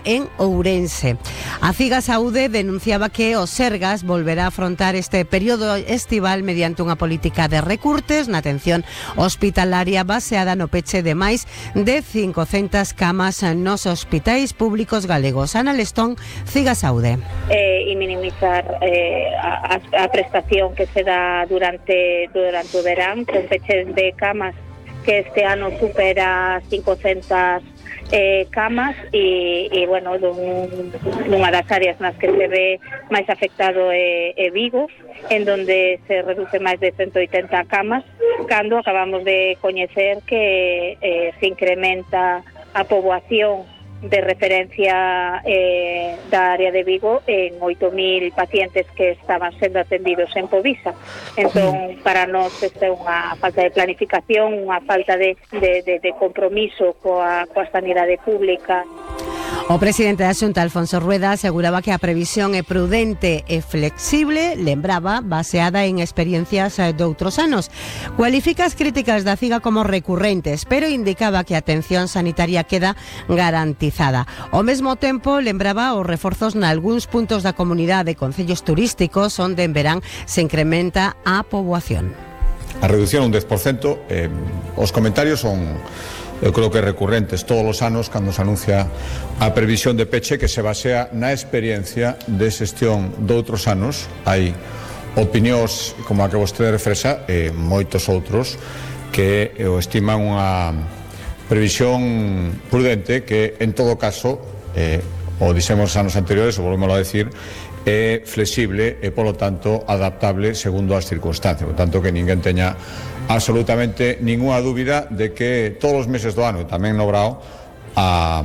en Ourense. A CIGA Saúde denunciaba que o Sergas volverá a afrontar este período estival mediante unha política de recurtes na atención hospitalaria baseada no peche de máis de 500 camas nos hospitais públicos galegos. Ana Lestón, CIGA Saúde. E minimizar a prestación que se dá durante o verán, con peches de camas que este ano supera 500 camas e bueno, nunha das áreas nas que se ve máis afectado é Vigo, en donde se reduce máis de 180 camas, cando acabamos de coñecer que se incrementa a poboación de referencia da área de Vigo en 8.000 pacientes que estaban sendo atendidos en Povisa. Entón, para nós esta é unha falta de planificación, unha falta de compromiso coa sanidade pública. O presidente da Xunta, Alfonso Rueda, aseguraba que a previsión é prudente e flexible, lembraba, baseada en experiencias de outros anos. Cualifica as críticas da CIGA como recurrentes, pero indicaba que a atención sanitaria queda garantizada. Ao mesmo tempo, lembraba os reforzos nalgúns puntos da comunidade de concellos turísticos onde en verán se incrementa a poboación. A reducción un 10%, os comentarios son, eu creo que recurrentes todos os anos cando se anuncia a previsión de peche que se basea na experiencia de xestión de outros anos. Hai opinións como a que vostede refrexa e moitos outros que o estiman unha previsión prudente que en todo caso, o dixemos anos anteriores, o volvemos a decir, é flexible e polo tanto adaptable segundo as circunstancias, por tanto que ninguén teña absolutamente ninguna dúbida de que todos os meses do ano, e tamén no Brao, a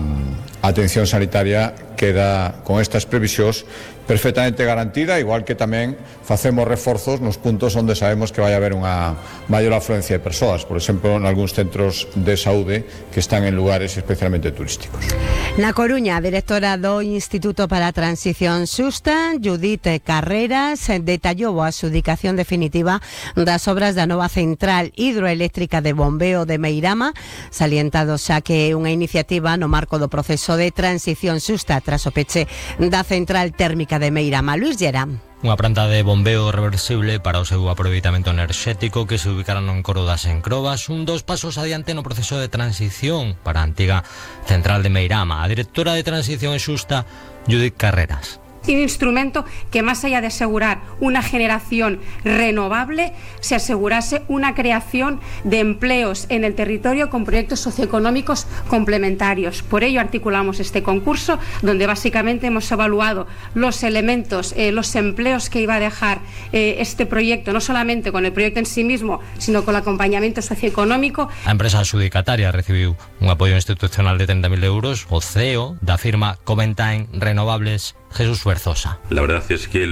atención sanitaria queda con estas previsións perfectamente garantida, igual que tamén facemos reforzos nos puntos onde sabemos que vai haber unha maior afluencia de persoas, por exemplo, en algúns centros de saúde que están en lugares especialmente turísticos. Na Coruña, a directora do Instituto para a Transición Xusta, Judith Carreras, detallou a adxudicación definitiva das obras da nova central hidroeléctrica de bombeo de Meirama, salientado xa que é unha iniciativa no marco do proceso de transición xusta tras o peche da central térmica de Meirama. Luis Llera. Unha planta de bombeo reversible para o seu aproveitamento enerxético que se ubicaron en Coro das Encrobas, un dos pasos adiante no proceso de transición para a antiga central de Meirama. A directora de Transición Xusta, Judith Carreras. Un instrumento que, más allá de asegurar una generación renovable, se asegurase una creación de empleos en el territorio con proyectos socioeconómicos complementarios. Por ello articulamos este concurso, donde básicamente hemos evaluado los elementos, los empleos que iba a dejar este proyecto, no solamente con el proyecto en sí mismo, sino con el acompañamiento socioeconómico. A empresa adxudicataria recibiu un apoio institucional de 30.000 euros, o CEO da firma Coventine Renovables, Jesús Berzosa. La verdad es que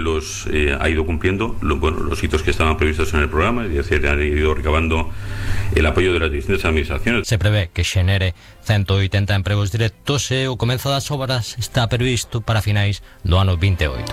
ha ido cumpliendo los hitos que estaban previstos en el programa, es decir, han ido recabando el apoyo de las distintas administraciones. Se prevé que xenere 180 empregos directos e o comezo das obras está previsto para finais do ano 28.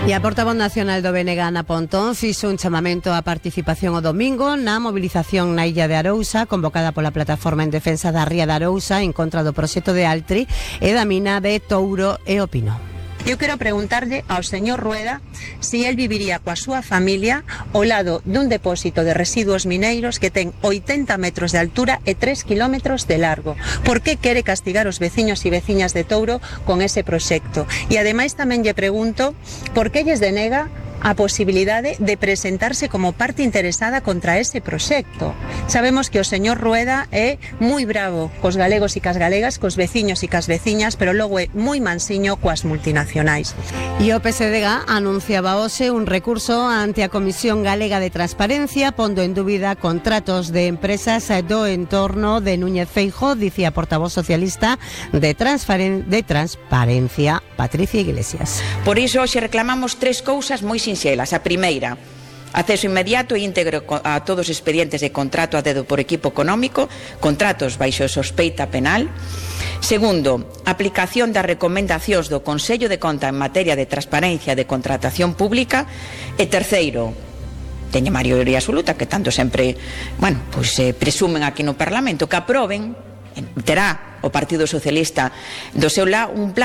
E a portavoz nacional do BNG, Ana Pontón, fixo un chamamento á participación o domingo na movilización na Illa de Arousa, convocada pola Plataforma en Defensa da Ría de Arousa en contra do proxecto de Altri e da mina de Touro e Opino. Eu quero preguntarlle ao señor Rueda si él viviría coa súa familia ao lado dun depósito de residuos mineiros que ten 80 metros de altura e 3 kilómetros de largo. Por que quere castigar os veciños e veciñas de Touro con ese proxecto? E ademais tamén lle pregunto por que lles denega a posibilidade de presentarse como parte interesada contra ese proxecto. Sabemos que o señor Rueda é moi bravo cos galegos e cas galegas, cos veciños e cas veciñas, pero logo é moi mansiño coas multinacionais. E o PSDG anunciaba hoxe un recurso ante a Comisión Galega de Transparencia, pondo en dúbida contratos de empresas do entorno de Núñez Feijóo, dicía a portavoz socialista de Transparencia, Patricia Iglesias. Por iso hoxe reclamamos tres cousas moi sinxelas. A primeira, acceso inmediato e íntegro a todos os expedientes de contrato a dedo por equipo económico, contratos baixo sospeita penal. Segundo, aplicación das recomendacións do Consello de Conta en materia de transparencia de contratación pública. E terceiro, teña maioría absoluta, que tanto sempre, presumen aquí no Parlamento, que aproben terá o Partido Socialista do seu lado un plan